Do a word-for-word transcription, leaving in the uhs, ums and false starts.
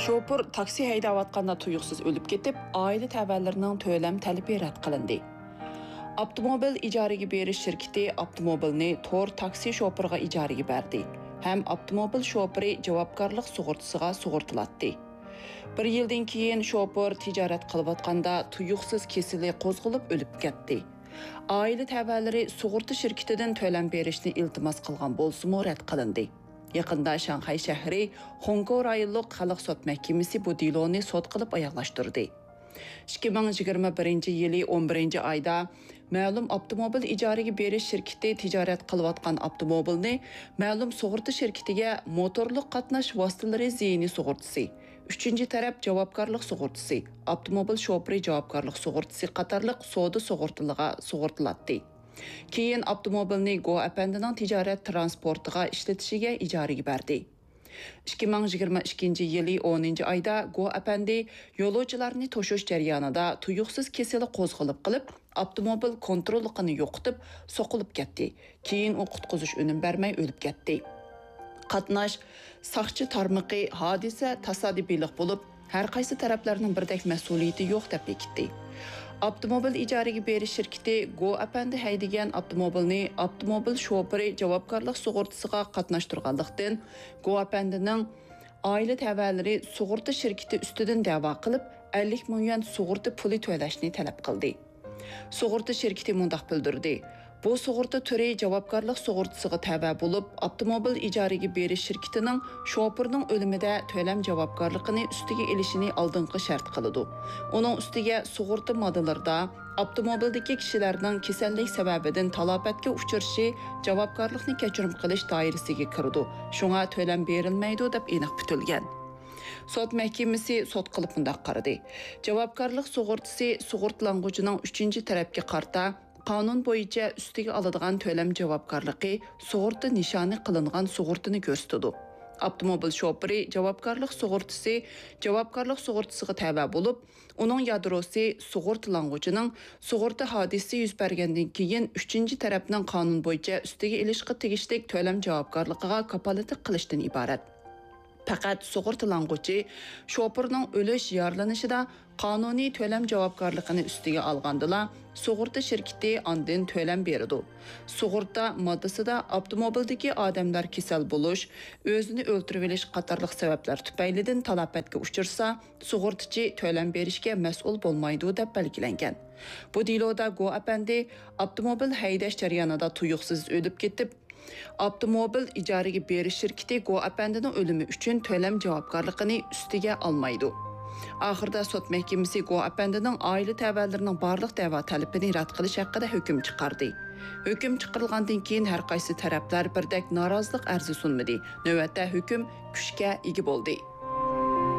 شوپۇر تاكسى ھەيدەۋاتقاندا تۇيۇقسىز ئۆلۈپ كېتىپ، ئائىلە تەۋەلىرىنىڭ تۆلەم تەلىپى رەت قىلىندى. ئاپتوموبىل ئىجارىگە بېرىش شىركىتى ئاپتوموبىلنى تور تاكسى شوپۇرىغا ئىجارىگە بەردى ھەم ئاپتوموبىل شوپۇرى جاۋابكارلىق سۇغۇرتىسىغا سۇغۇرتىلاتتى. بىر يىلدىن كېيىن شوپۇر تىجارەت قىلىۋاتقاندا تۇيۇقسىز كېسىلى قوزغىلىپ ئۆلۈپ كەتتى. ئائىلە تەۋەلىرى سۇغۇرتا شىركىتىدىن تۆلەم بېرىشنى ئىلتىماس قىلغان بولسىمۇ رەت قىلىندى. يېقىندا شاڭخەي شەھىرى خۇڭكو رايونلۇق خەلق سوت مەھكىمىسى بۇ دېلونى سوت قىلىپ ئاياغلاشتۇردى. ئىككى مىڭ يىگىرمە بىرىنچى يىلى ئون بىرىنچى ئايدا مەلۇم ئاپتوموبىل ئىجارىگە بېرىش شىركىتى تىجارەت قىلىۋاتقان ئاپتوموبىلنى مەلۇم سۇغۇرتا شىركىتىگە موتورلۇق قاتناش ۋاسىتىلىرى زىيىنى سۇغۇرتىسى، ئۈچىنچى تەرەپ جاۋابكارلىق سۇغۇرتىسى، ئاپتوموبىل شوپۇرى جاۋابكارلىق سۇغۇرتىسى قاتارلىق سودا سۇغۇرتىلىرىغا سۇغۇرتىلاتتى. كېيىن ئاپتوموبىلنى گو ئەپەندىنىڭ تىجارەت تىرانسپورتىغا ئىشلىتىشىگە ئىجارىگە بەردى. ئىككى مىڭ يىگىرمە ئىككىنچى يىلى ئونىنچى ئايدا گو ئەپەندى يولۇچىلارنى توشۇش جەريانىدا تۇيۇقسىز كېسىلى قوزغىلىپ قېلىپ، ئاپتوموبىل كونتروللۇقىنى يوقىتىپ، سوقۇلۇپ كەتتى. كېيىن ئۇ قۇتقۇزۇش ئۈنۈم بەرمەي ئۆلۈپ كەتتى. قاتناش ساقچى تارمىقى ھادىسە تاسادىپىيلىق بولۇپ، ھەر قايسى تەرەپلەرنىڭ بىردەك مەسئۇلىيىتى يوق دەپ بېكىتتى. ئاپتوموبىل ئىجارىگە بېرىش شىركىتى گو ئەپەندى ھەيدىگەن ئاپتوموبىلنى ئاپتوموبىل شوپۇرى جاۋابكارلىق سۇغۇرتىسىغا قاتناشتۇرغانلىقتىن، گو ئەپەندىنىڭ ئائىلە تەۋەلىرى سۇغۇرتا شىركىتى ئۈستىدىن دەۋا قىلىپ، ئەللىك مىڭ يۈەن سۇغۇرتا پۇلى تۆلەشنى تەلەپ قىلدى. سۇغۇرتا شىركىتى مۇنداق بىلدۈردى: بۇ سۇغۇرتا تۈرى جاۋابكارلىق سۇغۇرتىسىغا تەۋە بولۇپ، ئاپتوموبىل ئىجارىگە بېرىش شىركىتىنىڭ شوپۇرنىڭ ئۆلۈمىدە تۆلەم جاۋابكارلىقىنى ئۈستىگە ئېلىشىنى ئالدىنقى شەرت قىلىدۇ. ئۇنىڭ ئۈستىگە سۇغۇرتا ماددىلىرىدا ئاپتوموبىلدىكى كىشىلەرنىڭ كېسەللىك سەۋەبىدىن تالاپەتكە ئۇچرىشى جاۋابكارلىقنى كەچۈرۈم قىلىش دائىرىسىگە كىرىدۇ، شۇڭا تۆلەم بېرىلمەيدۇ، دەپ ئېنىق پۈتۈلگەن. سوت مەھكىمىسى سوت قىلىپ مۇنداق قارىدى: جاۋابكارلىق سۇغۇرتىسى سۇغۇرتىلانغۇچىنىڭ ئۈچىنچى تەرەپكە قارىتا قانۇن بويىچە ئۈستىگە ئالىدىغان تۆلەم جاۋابكارلىقى سۇغۇرتا نىشانى قىلىنغان سۇغۇرتىنى كۆرسىتىدۇ. ئاپتوموبىل شوپۇرى جاۋابكارلىق سۇغۇرتىسى جاۋابكارلىق سۇغۇرتىسىغا تەۋە بولۇپ، ئۇنىڭ يادروسى سۇغۇرتىلانغۇچىنىڭ سۇغۇرتا ھادىسىسى يۈز بەرگەندىن كېيىن ئۈچىنچى تەرەپنىڭ قانۇن بويىچە ئۈستىگە ئېلىشقا تېگىشلىك تۆلەم جاۋابكارلىقىغا كاپالەتلىك قىلىشتىن ئىبارەت. پەقەت سۇغۇرتىلانغۇچى شوپۇرنىڭ ئۆلۈش، يارىلىنىشىدا قانۇنىي تۆلەم جاۋابكارلىقىنى ئۈستىگە ئالغاندىلا، سۇغۇرتا شىركىتى ئاندىن تۆلەم بېرىدۇ. سۇغۇرتا ماددىسىدا ئاپتوموبىلدىكى ئادەملەر كېسەل بولۇش، ئۆزىنى ئۆلتۈرۈۋېلىش قاتارلىق سەۋەبلەر تۈپەيلىدىن تالاپەتكە ئۇچرىسا، سۇغۇرتىچى تۆلەم بېرىشكە مەسئۇل بولمايدۇ، دەپ بەلگىلەنگەن. بۇ دېلودا گو ئەپەندى ئاپتوموبىل ھەيدەش جەريانىدا تۇيۇقسىز ئۆلۈپ كېتىپ، ئاپتوموبىل ئىجارىگە بېرىش شىركىتى گو ئەپەندىنىڭ ئۆلۈمى ئۈچۈن تۆلەم جاۋابكارلىقىنى ئۈستىگە ئالمايدۇ. ئاخىرىدا سوت مەھكىمىسى گو ئەپەندىنىڭ ئائىلە تەۋەلىرىنىڭ بارلىق دەۋا تەلىپىنى رەت قىلىش ھەققىدە ھۆكۈم چىقاردى. ھۆكۈم چىقىرىلغاندىن كېيىن ھەر قايسى تەرەپلەر بىردەك نارازىلىق ئەرزى سۇنمىدى. نۆۋەتتە ھۆكۈم كۈچكە ئىگە بولدى.